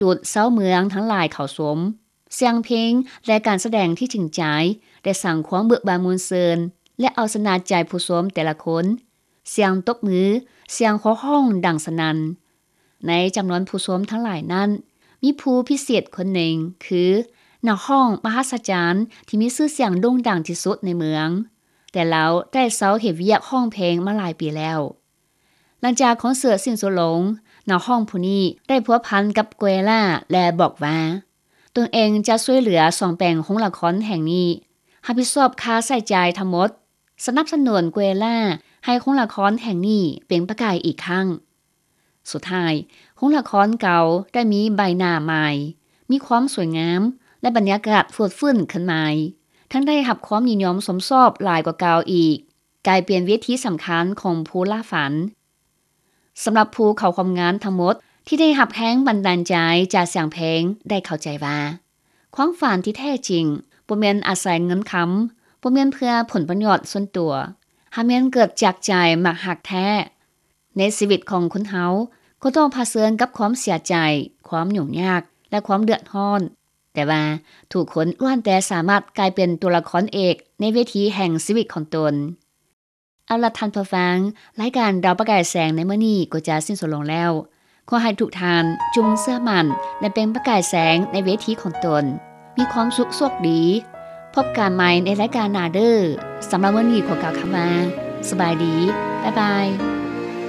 ດູດຊາວເມືອງທັງຫຼາຍເຂົ້າຊົມ. ສຽງເພງ ແລະ ການສະແດງທີ່ຈິງໃຈ ໄດ້ສ້າງຄວາມເບີກບານມ່ວນຊື່ນ ແລະ ເອົາຊະນະໃຈຜູ້ຊົມແຕ່ລະຄົນ. ສຽງຕົບມື, ສຽງໂຫ່ຮ້ອງດັງສະໜັ່ນ. ໃນຈຳນວນຜູ້ຊົມທັງຫຼາຍນັ້ນ ມີຜູ້ພິເສດຄົນໜຶ່ງ ຄື ນັກຮ້ອງມະຫັດສະຈັນ ທີ່ມີຊື່ສຽງໂດ່ງດັງທີ່ສຸດໃນເມືອງ, ແຕ່ລາວໄດ້ເຊົາເຮັດວຽກຮ້ອງເພງມາຫຼາຍປີແລ້ວ. ຫຼັງຈາກຄອນເສີດສິ້ນສຸດລົງ, ນັກຮ້ອງຜູ້ນີ້ໄດ້ພົວພັນກັບແກວລາ ແລະ ບອກວ່າ ຕົນເອງຈະຊ່ວຍເຫຼືອສ້ອມແປງໂຮງລະຄອນແຫ່ງນີ້, ຮັບຜິດຊອບຄ່າໃຊ້ຈ່າຍທັງໝົດ, ສະໜັບສະໜູນແກວລາໃຫ້ໂຮງລະຄອນແຫ່ງນີ້ເປັນປະກາຍອີກຄັ້ງ. ສຸດທ້າຍ, ໂຮງລະຄອນເກົ່າໄດ້ມີໃບໜ້າໃໝ່, ມີຄວາມສວຍງາມ ແລະ ບັນຍາກາດຟົດຟື້ນຄືນໃໝ່, ທັງໄດ້ຮັບຄວາມນິຍົມຊົມຊອບຫຼາຍກວ່າເກົ່າອີກ, ກາຍເປັນເວທີສຳຄັນຂອງຜູ້ລ່າຝັນ. ສຳລັບຜູ້ເຂົ້າຮ່ວມງານທັງໝົດທີ່ໄດ້ຮັບແຮງບັນດານໃຈຈາກສຽງເພງ ໄດ້ເຂົ້າໃຈວ່າ ຄວາມຝັນທີ່ແທ້ຈິງບໍ່ແມ່ນອາໄສເງິນຄຳ, ບໍ່ແມ່ນເພື່ອຜົນປະໂຫຍດສ່ວນຕົວ, ຫາກແມ່ນເກີດຈາກໃຈມັກຮັກແທ້. ໃນຊີວິດຂອງຄົນເຮົາກໍຕ້ອງຜະເຊີນກັບຄວາມເສຍໃຈ, ຄວາມຫຍຸ້ງຍາກ ແລະ ຄວາມເດືອດຮ້ອນ, ແຕ່ວ່າທຸກຄົນລ້ວນແຕ່ສາມາດກາຍເປັນຕົວລະຄອນເອກໃນເວທີແຫ່ງຊີວິດຂອງຕົນ. ເອົາລະທ່ານຜູ້ຟັງ, ລາຍການດາວປະກາຍແສງໃນມື້ນີ້ກໍຈະສິ້ນສຸດລົງແລ້ວ. ຂໍໃຫ້ທຸກທ່ານຈົ່ງເຊື່ອໝັ້ນ ແລະ ເປັນປະກາຍແສງໃນເວທີຂອງຕົນ. ມີຄວາມສຸກໂຊກດີ. ພົບກັນໃໝ່ໃນລາຍການໜ້າເດີ້. ສຳລັບມື້ນີ້ຂໍກ່າວຄຳວ່າ ສະບາຍດີ. ບາຍບາຍ.